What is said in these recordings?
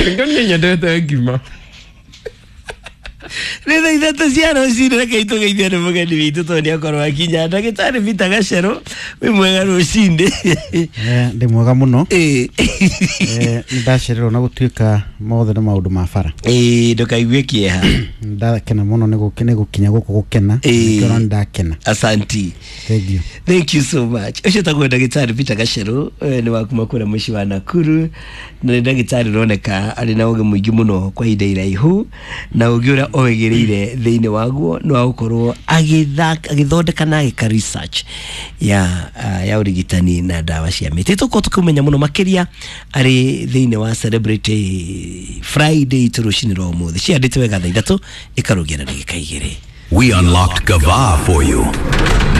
Rĩngĩ niĩ nyendete ngima. Nĩ thaa 3 cia rũcinĩ, reke itũgeithio nĩ mũgeni witũ tondũ nĩ akorwo akinya. Ndagĩtarĩ Peter Gacerũ, wĩ mwega rũcinĩ? Ndĩ mwega mũno. Nĩ ndacererwo na gũtuĩka mothe nĩ maũndũ ma bara. Ĩĩ, ndũkaigue kĩeha. Ndakena mũno nĩ gũkinya gũkũ gũkena. Ĩĩ. Nĩkĩo nĩ ndakena. Asanti. Thank you. Thank you so much. Ũcio tagwo ndagĩtarĩ Peter Gacerũ, nĩ wa kuma kũrĩa mũciĩ wa Nakuru, na nĩ ndagĩtarĩ ũroneka arĩ na ũgĩ mũingĩ mũno kwa ihinda iraihu, na ũgĩ ũrĩa oĩgĩrĩire thĩinĩ waguo nĩ wa gũkorwo agĩthondeka na agĩka research ya ũrigitani na ndawa cia mĩtĩ. Tũkorwo tũkĩmenya mũno makĩria arĩ thĩinĩ wa Celebrity Friday itũ rũcinĩ rwa ũmũthĩ. Ciandĩte wega thaa 3 ĩkarũgia na ndagĩka 2. We unlocked Gava for you.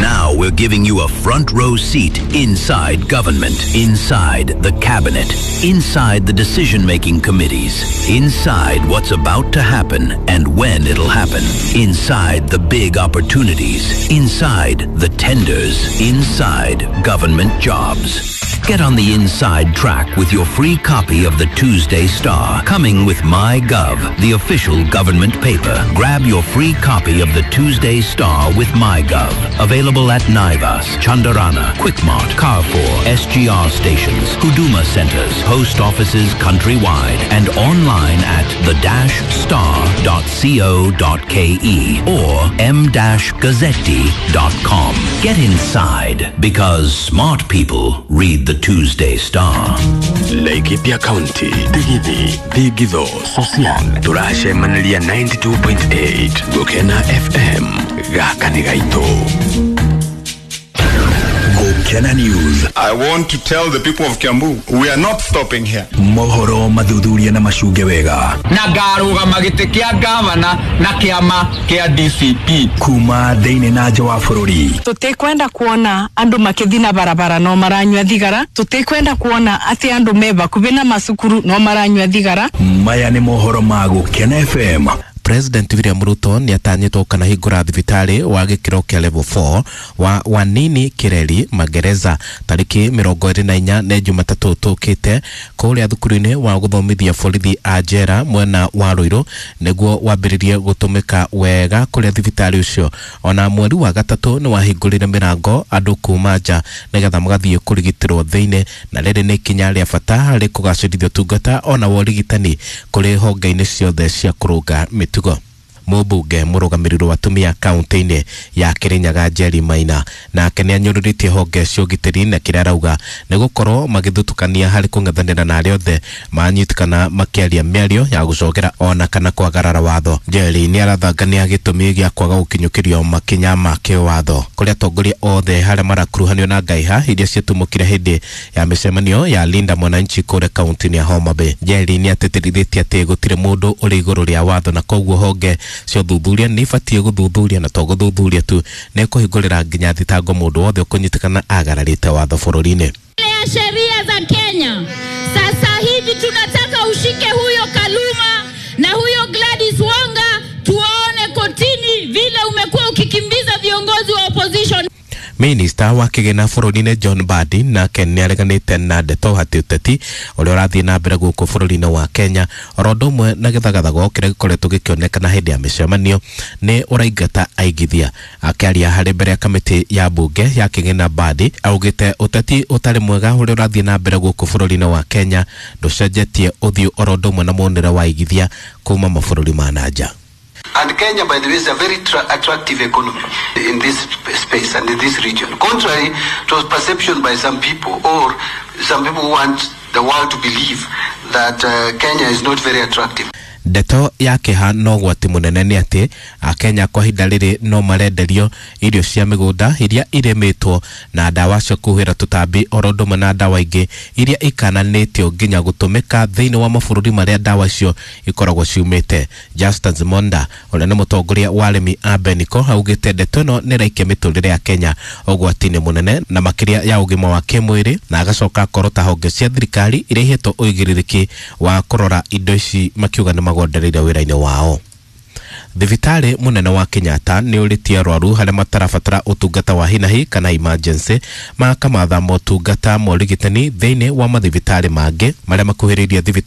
Now we're giving you a front row seat inside government, inside the cabinet, inside the decision making committees, inside what's about to happen and when it'll happen, inside the big opportunities, inside the tenders, inside government jobs. Get on the inside track with your free copy of the Tuesday Star, coming with MyGov, the official government paper. Grab your free copy of the Tuesday Star with MyGov. Available at Naivas, Chandarana, Quickmart, Carrefour, SGR stations, Huduma centers, post offices countrywide, and online at the-star.co.ke or m-gazzetti.com. Get inside because smart people read the Tuesday Star. Laikipia County, Digithi, Thigitho, Sosian, tũracemaniria 92.8 Gũkena FM, gaka nĩ gaitũ. Gũkena News. I want to tell the people of Kiambu, we are not stopping here. Mohoro mathuthuria na macunge wega. Na ngarũgama gĩtĩ kĩa ngavana na kĩama kĩa DCP. Kuma thĩinĩ na nja wa bũrũri. Tutikwenda kuona andu makithi na barabara no maranyua thigara. Tutikwenda kuona ati andu me bakubi na macukuru no maranyua thigara. Maya nĩ mohoro ma Gũkena FM. President William Ruto nĩ atanyĩtwo kana hingũra thibitarĩ wa gĩkĩro kĩa level 4 wa Wanini Kireri magereza tarĩki 24 nĩ Jumatatũ tũkĩte kũrĩa thukuru-inĩ wa gũthomithia borithi a njera mwena wa Ruiru nĩguo wambĩrĩrie gũtũmĩka wega kũrĩa thibitarĩ ũcio. Ona mweri wa gatatũ nĩ wahingũrire mĩrango andũ kuma nja nĩgetha magathiĩ kũrigitĩrwo thĩinĩ, na rĩrĩ nĩ ikinya rĩa bata harĩ kũgacĩrithia ũtungata ona wa ũrigitani kũrĩ honge-inĩ ciothe cia kũrũnga mĩtugo. Mũmbunge mũrũgamĩrĩri wa atumia kaunti-inĩ ya Kirinyaga Njeri Maina nake nĩ anyũrũrĩtie honge cia ũgitĩri na kĩrĩa arauga nĩ gũkorwo magĩthutũkania harĩ kũng'ethanĩra na arĩa othe manyitĩkana makĩaria mĩario ya gũcogera ona kana kwagarara watho. Njeri nĩ arathangania gĩtũmi gĩa kwaga gũkinyũkĩrio makinya ma kĩwatho kũrĩa atongoria othe harĩa marakuruhanio na ngaiha iria ciatumũkire hĩndĩ ya mĩcemanio ya Linda Mwananchi kũrĩa kaunti-inĩ ya Homa Bay. Njeri nĩ atĩtĩrithĩtie atĩ gũtirĩ mũndũ ũrĩ igũrũ rĩa watho na koguo honge cia ũthuthuria nĩ ibatiĩ gũthuthuria na to gũthuthuria tu, nĩ kũhingũrĩra nginya thitango mũndũ wothe ũkũnyitĩkana agararĩte watho bũrũri-inĩ. Ya sheria za Kenya. Sasa hivi tunataka ushike huyo Kaluma na huyo Gladys Wanga, tuwaone kotini vile umekuwa ukikimbiza viongozi wa opposition. Minista wa kĩgĩna bũrũri-inĩ John Mbadi nake nĩ areganĩte na ndeto atĩ ũteti ũrĩa ũrathiĩ na mbere gũkũ bũrũri-inĩ wa Kenya oro ũndũ ũmwe na gĩthagathago kĩrĩa gĩkoretwo gĩkĩonekana hĩndĩ ya mĩcemanio nĩ ũraingata aigithia. Akĩaria harĩ mbere ya kamĩtĩ ya mbunge ya kĩgĩna, Mbadi augĩte ũteti ũtarĩ mwega ũrĩa ũrathiĩ na mbere gũkũ bũrũri-inĩ wa Kenya ndũcenjetie ũthiũ oro ũndũ ũmwe na muonere wa aigithia kuma mabũrũri ma na nja. And Kenya, by the way, is a very attractive economy in this space and in this region. Contrary to perception by some people, or some people who want the world to believe that Kenya is not very attractive. Ndeto ya kĩeha no ũgwati mũnene nĩ atĩ Akenya kwa ihinda rĩrĩ no marenderio irio cia mĩgũnda iria irĩmĩtwo na ndawa cia kũhuhĩra tũtambi oro ũndũ ũmwe na ndawa ingĩ iria ikananĩtio nginya gũtũmĩka thĩinĩ wa mabũrũri marĩa ndawa icio ikoragwo ciumĩte. Justin Monda ũrĩa nĩ mũtongoria wa arĩmi a Beniko augĩte ndeto ĩno nĩ ĩraikia mĩtũrĩre ya Kenya ũgwati-inĩ mũnene na makĩria ya ũgima wa kĩmwĩrĩ, na agacoka akorota honge cia thirikari iria ihetwo ũigĩrĩrĩki wa kũrora indo ici makiuga nĩ magondereire wĩra-inĩ wao. Thibitarĩ mũnene wa Kenyatta nĩ ũrĩtie arwaru harĩa matarabatara ũtungata wa hinahi kana emergency makamatha motungata ma ũrigitani thĩinĩ wa mathibitarĩ mangĩ marĩa makuhĩrĩirie thibitarĩ.